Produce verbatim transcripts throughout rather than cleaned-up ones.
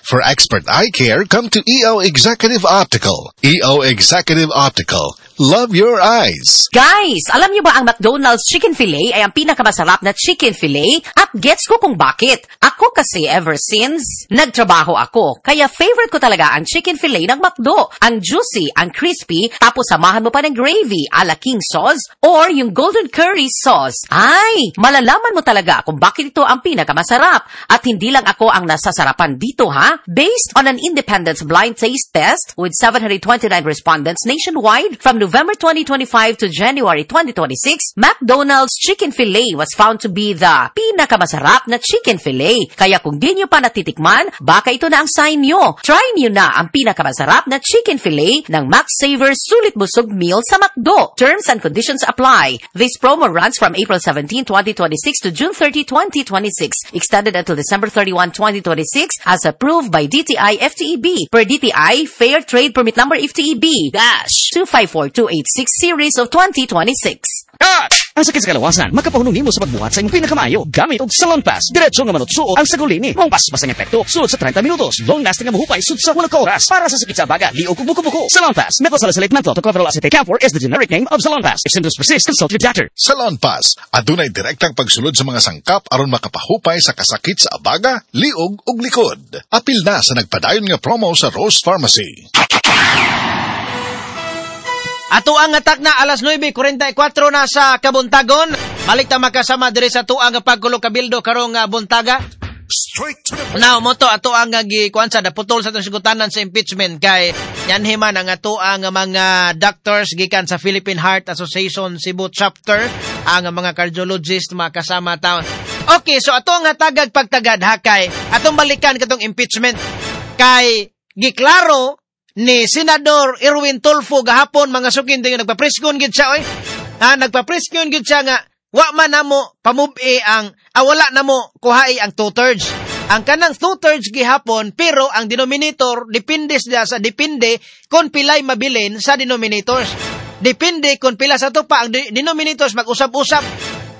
For expert eye care, come to E O Executive Optical. E O Executive Optical. Love your eyes. Guys, alam niyo ba ang McDonald's Chicken Fillet ay ang pinakamasarap na chicken fillet? At gets ko kung bakit. Ako kasi, ever since nagtrabaho ako, kaya favorite ko talaga ang chicken fillet ng McDo. Ang juicy, ang crispy, tapos samahan mo pa ng gravy ala king sauce or yung golden curry sauce. Ay, malalaman mo talaga kung bakit ito ang pinakamasarap. At hindi lang ako ang nasasarapan dito, ha? Based on an independent blind taste test with seven hundred twenty-nine respondents nationwide from November twenty twenty-five to January twenty twenty-six, McDonald's Chicken Fillet was found to be the pinakamasarap na chicken fillet. Kaya kung di nyo pa natitikman, baka ito na ang sign nyo. Try nyo na ang pinakamasarap na chicken fillet ng Max Saver Sulit Busog Meal sa McDo. Terms and conditions apply. This promo runs from April seventeenth, twenty twenty-six to June thirty, twenty twenty-six. Extended until December thirty-first, twenty twenty-six as approved by D T I F T E B. Per D T I Fair Trade Permit Number F T E B dash two five four two eight six series of twenty twenty-six. Ang sakit sa kalawasan, makapahunong nimo sa pagbuhat sa imong pinakamaayo. Gamit og Salonpas. Diretso nga manutsuo ang sagol ini. Mong paspas ang epekto sulod sa trenta minutos. Long lasting ang muhupay sud sa walo ka oras. Para sa sakit sa baga, liog ug buko-buko. Salonpas. Methyl salicylate, menthol, tocopherol acetate, camphor is the generic name of Salonpas. If symptoms persist, consult your doctor. Salonpas, adunay direktang pagsulod sa mga sangkap aron makapahupay sa kasakit sa abaga, liog ug likod. Apil na sa nagpadayon nga promo sa Rose Pharmacy. Ato ang atak na alas nuwebe kwarenta y kwatro na sa kabuntagon. Balik ta makasama diri sa tuang pagkulog kabildo karong ah, buntaga. Straight to the Now, mo to ato ang gikuan sa naputol sa atong sugutanan sa impeachment kay yanhi man ang ato ang mga doctors gikan sa Philippine Heart Association Cebu Chapter, ang mga cardiologist makasama taon. Okay, so ato ang hatagag pagtagad ha kay atong balikan katong impeachment kay giklaro ni Senador Erwin Tulfo gahapon, mga sukin, din nagpa-presscon gid siya oy. Ha, nagpa-presscon gid siya nga wa man namo pamub-i ang ah, wala namo kuhai ang two-thirds. Ang kanang two-thirds gihapon, pero ang denominator depende siya sa depende kung pilay mabilin sa denominators. Depende kung pila sa to pa ang de- denominators mag-usab-usab.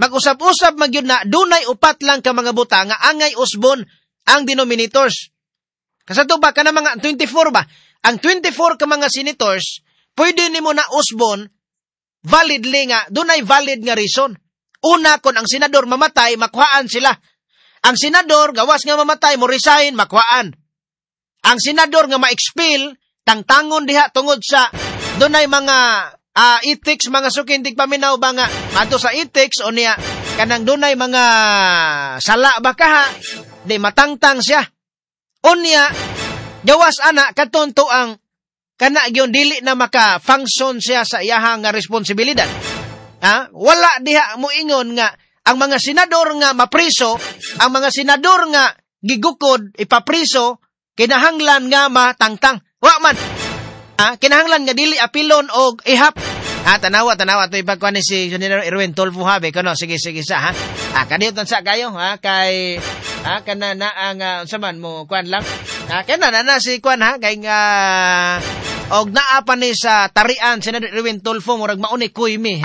Mag-usab-usab magyud na dunay upat lang ka mga buta nga angay usbon ang denominators. Kasato ba kana mga twenty-four ba? Ang twenty-four ka mga senators, pwede nimo na usbon validly nga dunay valid nga reason. Una, kung ang senador mamatay, makuhaan sila. Ang senador gawas nga mamatay, mo resign, makuhaan. Ang senador nga ma-expel, tangtangon diha tungod sa dunay mga ah, ethics, mga sukin tigpaminaw ba, nga adto sa ethics o niya kanang dunay mga sala ba kaha, di matangtang siya. Unya, gawas ana katon to ang kana gyud dili na maka-function siya sa iyahang nga responsibilidad. Ha? Wala diha mo ingon nga ang mga senador nga mapriso, ang mga senador nga gigukod ipapriso, kinahanglan nga matangtang. Wa man. Ha? Kinahanglan nga dili apilon og ihap. Ah, tanawa, tanawa. Ito ipagkuhan ni si Senator Erwin Tulfo habi. Kuno, sige, sige sa, ha? Ah, kaniyot sa kayo, ha? Kay, ha? Kana na ang, uh, unsa man mo, kuan lang. Ha? Kana na na si kuan, ha? Kay nga, og naa pa ni sa tarian, Senator Erwin Tulfo, murag mauni kuy mi.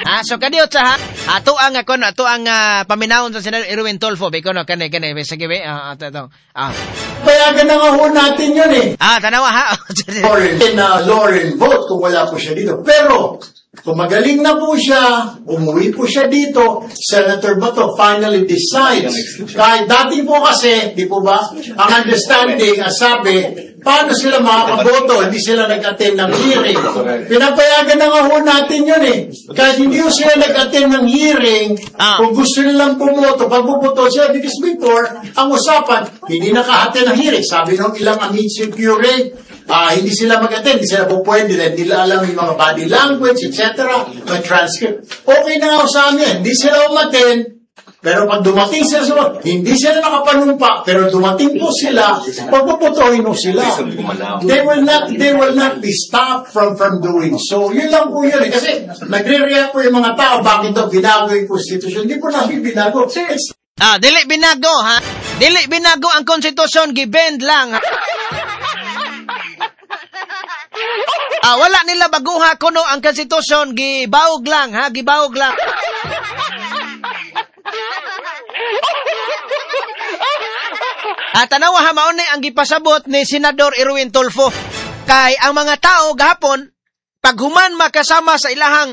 Ah, so kadiyot sa ha. Ato ang ako ato ang uh, paminawon sa Senator Erwin Tulfo. Biko no kani kani sige be. Ah, ato ato. Ah. Payagan na nga ho natin yun eh. Ah, tanawa ha. Or in uh, Lauren vote kung wala po siya dito. Pero, kung magaling na po siya, umuwi po siya dito, Senator Bato finally decides. Kahit dati po kasi, di po ba, ang understanding, ang sabi, paano sila makakaboto? Hindi sila nag-attend ng hearing. Pinapayagan na nga ho natin yun eh. Kahit hindi ho sila nag-attend ng hearing, Ah. kung gusto nilang bumoto, pagbuboto siya, because before, ang usapan, hindi naka-attend ng hearing. Sabi nung ilang amici curiae, ah, hindi sila mag-attend, hindi sila po pwede, dahil hindi nila alam yung mga body language, et cetera, may transcript. Okay na nga ho sa amin, hindi sila umattend, pero pag dumating sila sa hindi sila nakapanumpa, pero dumating po sila, pagpuputuhin mo sila. They will not, they will not be stopped from from doing so. Yun lang po yun eh. Kasi nagre-react po yung mga tao, bakit daw binago yung constitution? Hindi po namin binago. It's Ah, dili binago ha. Dili binago ang konstitusyon, gibend lang. Ha? Ah, wala nila baguha kuno ang konstitusyon, gibawog lang ha, gibawog lang. Ah, tanawa ha, mao ni ang gipasabot ni Senador Erwin Tulfo. Kay ang mga tao gahapon paghuman makasama sa ilahang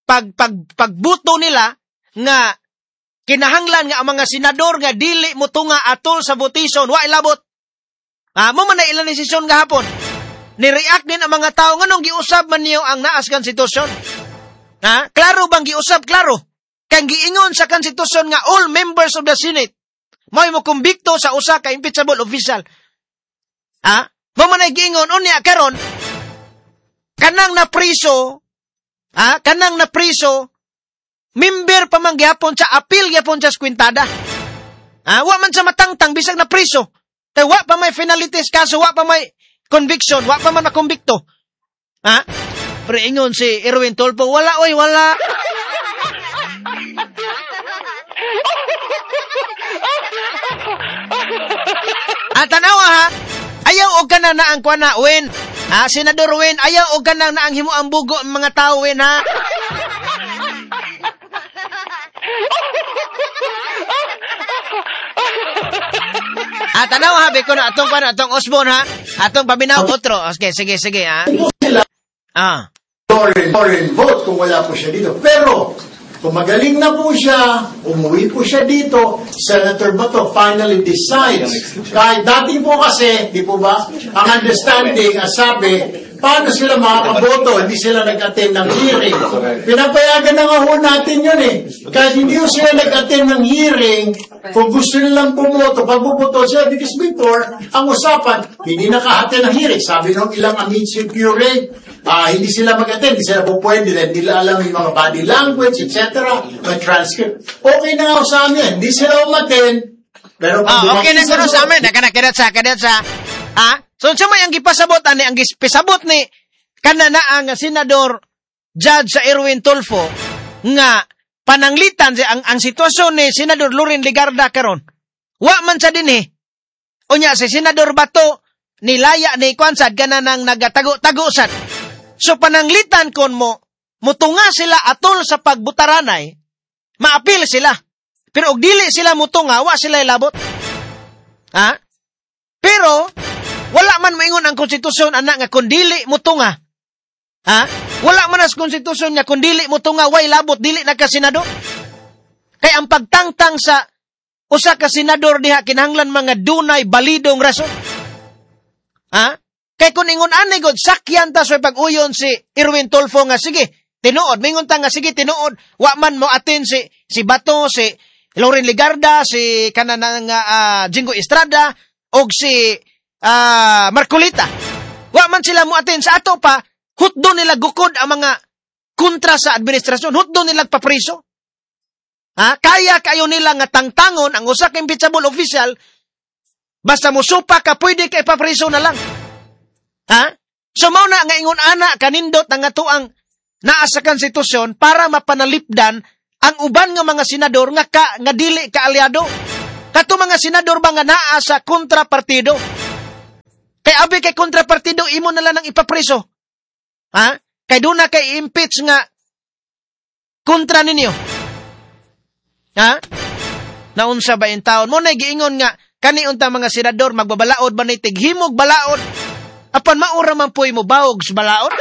pag, pag pagbuto nila nga kinahanglan nga ang mga senador nga dili motunga atol sa votation, wa ilabot. Ah, mo man na ilang desisyon gahapon. Ni-react din ang mga tao nganong giusab man niyo ang naas konstitusyon. Ha? Klaro bang giusab? Klaro. Kay giingon sa konstitusyon nga all members of the Senate mo'y mokumbikto sa usa ka impeachable official. Ha? Mo man ay giingon unya karon kanang napriso, ha? Kanang napriso member pa man gihapon sa appeal gihapon sa kwintada. Ha? Wa man sa matangtang bisag napriso. Kay wa pa may finalities kaso, wa pa may conviction, wa pa man nakumbikto. Ha? Pero ingon si Erwin Tulfo, wala oy, wala. Ah, tanawa ha. Ayaw og kana na ang kuan na Win. Ha, Senador Win, ayaw og kana na ang himo ang bugo ang mga tao Win ha. Ah, tanawa ha, biko na atong kuan atong Osborne ha. Atong paminaw otro. Okay, sige sige ha. Ah. Foreign, foreign vote kung wala po siya dito. Pero kung magaling na po siya, umuwi po siya dito, Senator Bato finally decides. Kahit dati po kasi, di po ba, ang understanding, ang sabi, paano sila makakaboto? Hindi sila nag-attend ng hearing. Pinapayagan na nga ho natin yun eh. Kahit hindi ho sila nag-attend ng hearing, kung gusto nilang bumoto, pagbuboto sila, because before, ang usapan, hindi naka-attend ng hearing. Sabi nung ilang amici curiae, uh, hindi sila mag-attend, hindi sila po pwede, hindi nila alam yung mga body language, et cetera, may transcript. Okay na nga sa amin, hindi sila umattend, pero pag oh, okay na kuno sa amin, nakana sa kada sa ha? So unsa may ang gipasabot ani ang gispisabot ni kana na ang Senador Judge sa Erwin Tulfo nga pananglitan ang ang sitwasyon ni Senador Loren Legarda karon. Wa man sa dinhi. Unya si Senador Bato nilaya ni kwan sad kana nang nagatago-tago sad. So pananglitan kon mo mutunga sila atol sa pagbutaranay, maapil sila. Pero og dili sila mutunga, wa sila ilabot. Ha? Pero wala man moingon ang konstitusyon anak nga kun dili mutunga. Ha? Wala man as konstitusyon nga kun dili mutunga way labot, dili na ka senador. Kay ang pagtangtang sa usa ka senador diha kinahanglan mga dunay balidong rason. Ha? Kay kun ingon ani god sakyan ta sa pag-uyon si Erwin Tulfo nga sige, tinuod, mingon ta nga sige tinuod, wa man mo atin si si Bato, si Loren Legarda, si kanang uh, Jingo Estrada og si uh, Marcolita. Wa man sila mo atin sa ato pa, hutdo nila gukod ang mga kontra sa administrasyon, hutdo nila papriso. Ha? Kaya kayo nila nga tangtangon ang usa ka impeachable official, basta musupa ka pwede ka ipapriso na lang. Ha? So mao na nga ingon ana kanindot ang atuang naa sa konstitusyon para mapanalipdan ang uban nga mga senador nga ka, nga dili ka aliado. Kato mga senador ba nga naa sa kontrapartido? Kay abi kay kontrapartido imo na lang ang ipapreso. Ha? Kay duna kay impeach nga kontra ninyo. Ha? Naunsa ba in taon? Mo na giingon nga kani unta mga senador magbabalaod ba ni tighimog balaod? Apan maura man po'y mo bawog sa balaod?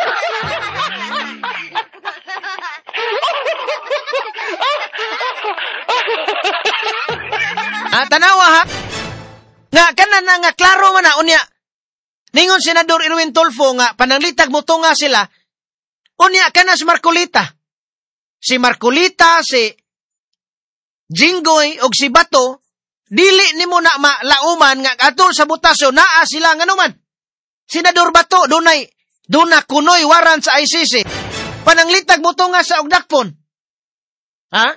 Ah, tanawa ha? Nga, kana na nga, klaro man na, unya. Ningon Senador Erwin Tulfo nga, pananglitag mo tunga sila, unya, kana si Marcolita. Si Marcolita, si Jinggoy, og si Bato, dili nimo na malauman nga, atol sa butasyon, naa sila nga numan. Senador Bato, dunay, duna kunoy waran sa I C C. Pananglitag mo tunga sa Ugdakpon. Ha?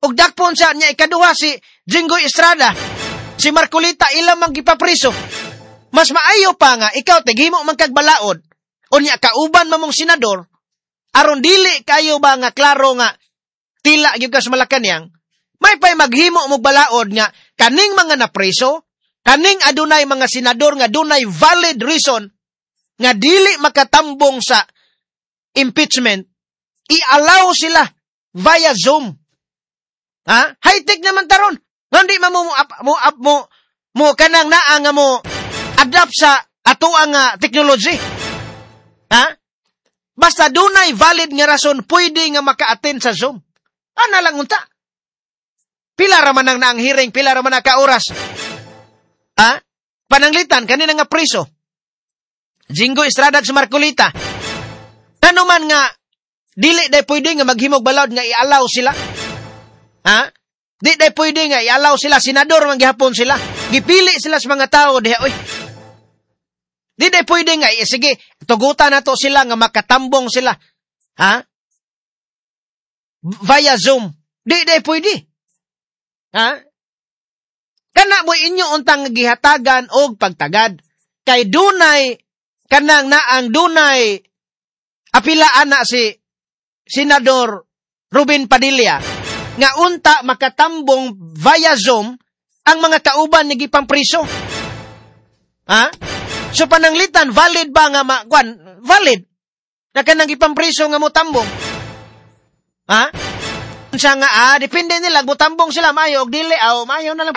Ugdakpon sa niya ikaduha si Jinggoy Estrada. Si Marcolita ilang mang gipapriso. Mas maayo pa nga ikaw tighimo man kag balaod. Unya kauban mamong senador aron dili kayo ba nga klaro nga tila gyud ka sa Malacañang. May pay maghimo mo balaod nga kaning mga napriso, kaning adunay mga senador nga dunay valid reason nga dili makatambong sa impeachment, i-allow sila via Zoom. Ha? High-tech naman taron. Nga di man mo mo up, mo up mo mo kanang naa nga mo adapt sa ato ang uh, technology. Ha? Basta dunay valid nga rason pwede nga maka-attend sa Zoom. Ana lang unta. Pila ra man ang naang hearing, pila ra man ang ka oras. Ha? Pananglitan kanina nga priso. Jinggoy Estrada sa Marcoleta. Ano man nga dili day pwede nga maghimog balod nga i-allow sila. Ha? Di day pwede nga i-allow sila, senador man gihapon sila. Gipili sila sa mga tao diha oy. Di day pwede nga eh, sige, tugutan nato sila nga makatambong sila. Ha? Via Zoom. Di day pwede. Ha? Kana mo inyo untang gihatagan og pagtagad. Kay dunay kanang naang dunay apila ana si Senador Ruben Padilla nga unta makatambong via Zoom ang mga kauban ni gipampriso. Ha? So pananglitan valid ba nga ma, kwan, valid na kanang gipampriso nga motambong? Ha? Siya nga ah, depende nila motambong sila maayo og dili aw maayo na lang.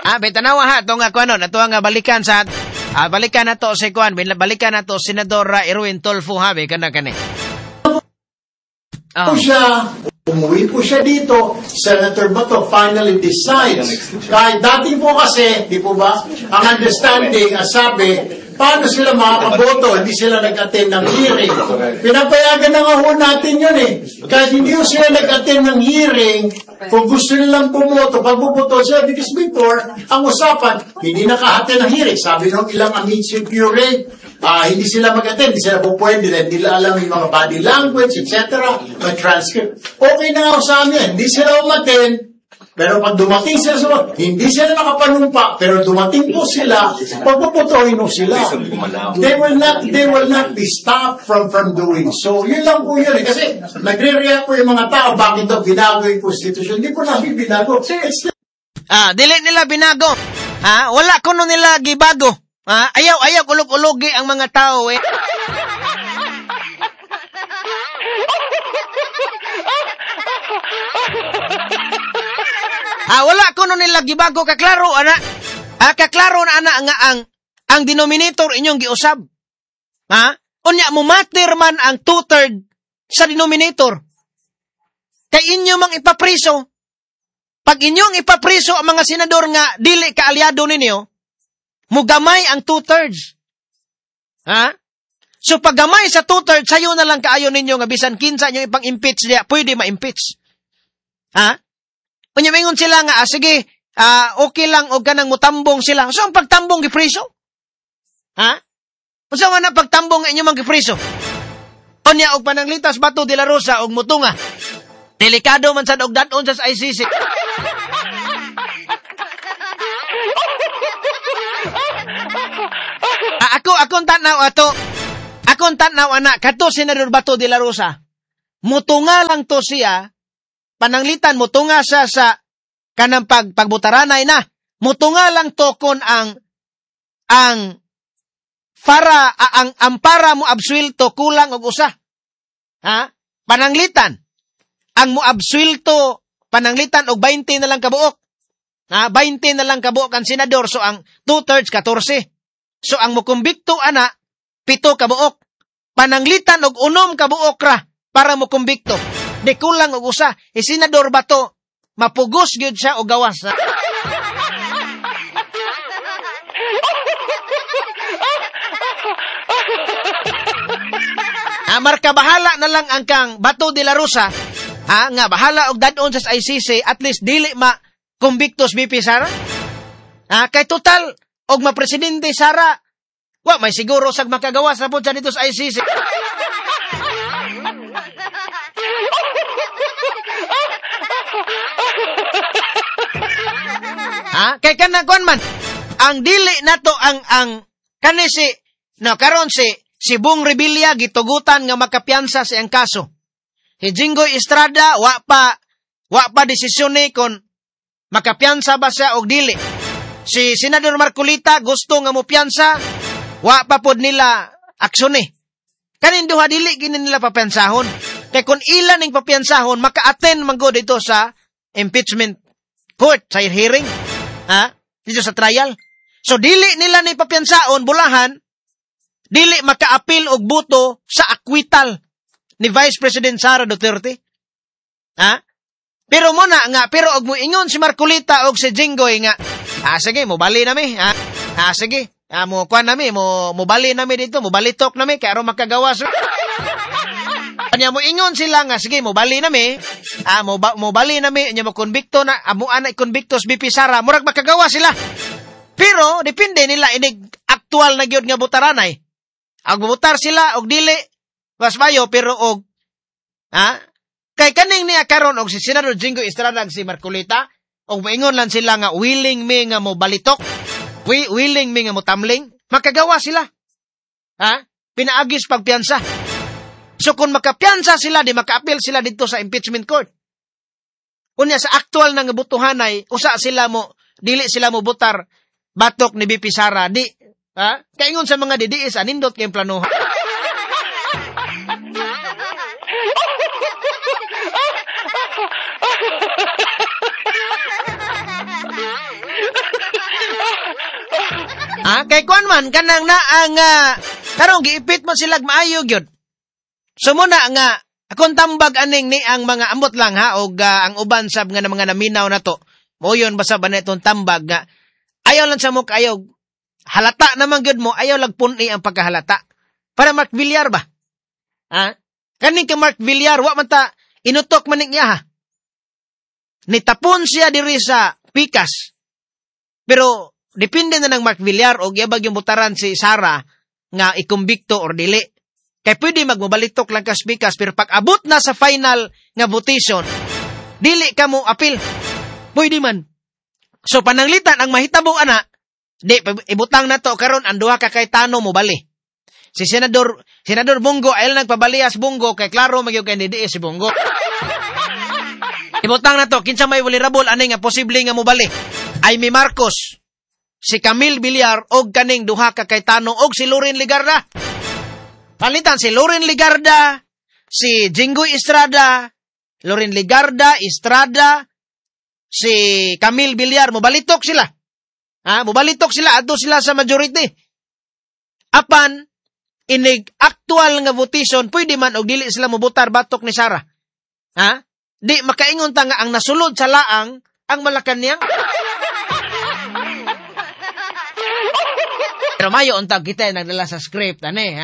Ah, bitanawa ha, ito nga kuano, nato nga balikan sa, ah, balikan na to si kuan, balikan na to Senador Erwin Tulfo ha, kana kani. Oh. Siya, umuwi po siya dito, Senator Bato finally decides. Kahit dati po kasi, di po ba, ang understanding, ang sabi, paano sila makakaboto, hindi sila nag-attend ng hearing. Pinapayagan na nga ho natin yun eh. Kahit hindi ho sila nag-attend ng hearing, kung gusto nilang pumoto, pagpuputo sila, because before, ang usapan, hindi naka-attend ng hearing. Sabi nung ilang amici curiae, uh, hindi sila mag-attend, hindi sila po pwede, hindi nila alam yung mga body language, et cetera, mga transcript. Okay na nga sa amin, hindi sila umattend, pero pag dumating sila sa hindi sila nakapanumpa, pero dumating po sila, pagpuputuhin po sila. They will not, they will not be stopped from from doing so. Yun lang po yun eh. Kasi nagre-react po yung mga tao, bakit daw binago yung constitution? Hindi po namin binago. It's ah, dili nila binago. Ah, wala kuno nila gibago. Ah, ayaw, ayaw ulog-ulogi ang mga tao eh. Ah, wala kuno nila gibago, kaklaro ana. Ah, kaklaro na ana nga ang ang denominator inyong giusab. Ha? Unya mo matter man ang two-third sa denominator. Kay inyo mang ipapriso. Pag inyong ipapriso ang mga senador nga dili kaalyado ninyo, mugamay ang two-thirds. Ha? So paggamay sa two-thirds, sayo na lang kaayo ninyo nga bisan kinsa inyo ipang-impeach niya, pwede ma-impeach. Ha? Unya mingon sila nga, ah, sige, ah, okay lang og kanang mutambong sila. So ang pagtambong gipriso? Ha? Unsa man ang pagtambong nga inyo mang gipriso? Unya og pananglitas Bato de la Rosa og mutunga. Delikado man sad og dad-on sa I C C. Ah, ako akong tan-aw ato. Akong tan-aw ana kadto Senador Bato de la Rosa. Mutunga lang to siya. Pananglitan mutunga siya sa kanang pag pagbutaranay na. Mutunga lang to kon ang ang para ang ampara mo absuelto kulang og usa. Ha? Pananglitan ang mo absuelto pananglitan og twenty na lang kabuok. Ha? twenty na lang kabuok ang senador, so ang two-thirds fourteen. So ang mokumbikto ana pito kabuok. Pananglitan og unom kabuok ra para mokumbikto. Di kulang og usa. E senador Bato mapugos gyud siya og gawas. Ha, marka bahala na lang ang kang Bato de la Rosa. Ha, nga bahala og dad-on sa I C C, at least dili ma kumbiktos B P Sara. Ha, kay total og mapresidente Sara, wa may siguro sag makagawas na pud sa dito sa I C C. Ha, kay kanang kuan man ang dili nato ang ang kani si no karon si si Bong Revilla gitugutan nga makapiyansa sa iyang kaso. Si Jinggoy Estrada wa pa Wa pa desisyon ni kon makapiyansa ba siya og dili. Si Senador Marcoleta gusto nga mopiyansa, wa pa pod nila aksyon ni. Kanin duha dili gini nila papiyansahon. Kay kung ila ning papiyansahon, maka-attend man gud dito sa impeachment court, sa hearing, ha? Dito sa trial. So dili nila ni papiyansaon bulahan, dili maka-appeal og buto sa acquittal ni Vice President Sara Duterte. Ha? Pero mo na nga, pero og moingon si Marcoleta og si Jinggoy nga, ah sige, mobali nami, ha? Ah sige, ah, mo kuan nami, mo mobali nami dito, mobalitok nami kay aron makagawas. Anya mo ingon sila nga sige, mobali nami, ah mo mobali nami, nya mo konbikto na amo ana konbikto sa B P Sara, murag makagawa sila. Pero depende nila inig aktual na gyud nga butaranay. Ag butar sila og dili mas mayo, pero og ha kay kaning niya karon og si Senador Jinggoy Estrada ug si Marcoleta og moingon lang sila nga willing mi nga mo balitok, we willing mi nga motamling, makagawa sila. Ha? Pinaagis pagpiyansa. So kung makapiyansa sila, di makaapil sila dito sa impeachment court. Unya sa aktual na nga butuhanay, usa sila mo dili sila mo butar batok ni B P Sara, di ha? Kaingon sa mga D D S anindot kay plano. Ah, kay kuan man kanang naa nga karong giipit man sila maayo gyud. So muna nga akong tambag aning ni ang mga ambot lang ha og uh, ang uban sab nga mga naminaw nato. Moyon basta ba na itong tambag nga ayaw lang sa mo kayo halata naman gyud mo, ayaw lagpun-i ang pagkahalata. Para Mark Villar ba? Ha? Kaning ka Mark Villar wa man ta inutok man niya ha. Nitapon siya diri sa pikas. Pero depende na ng Mark Villar og yabag yung butaran si Sara nga ikumbikto or dili. Kay pwede magmobalitok lang kas pikas, pero pag abot na sa final nga votation, dili ka mo apil. Pwede man. So pananglitan ang mahitabo ana, di ibutang na to karon ang duha ka kay Tano mobali. Si Senador Senador Bongo ay nagpabaliyas Bongo kay klaro magyud kay D D S si Bongo. Ibutang na to kinsa may vulnerable ani nga posible nga mobali. Amy Marcos, si Camille Villar og kaning duha ka kay Tano og si Loren Legarda. Palitan si Loren Legarda, si Jinggoy Estrada, Loren Legarda, Estrada, si Camille Villar, mobalitok sila. Ha, mobalitok sila adto sila sa majority. Apan inig aktual nga votation pwede man og dili sila mobotar batok ni Sara. Ha? Di makaingon ta nga ang nasulod sa laang ang Malacanang. Pero mayo untag kita nagdala sa script ani ha.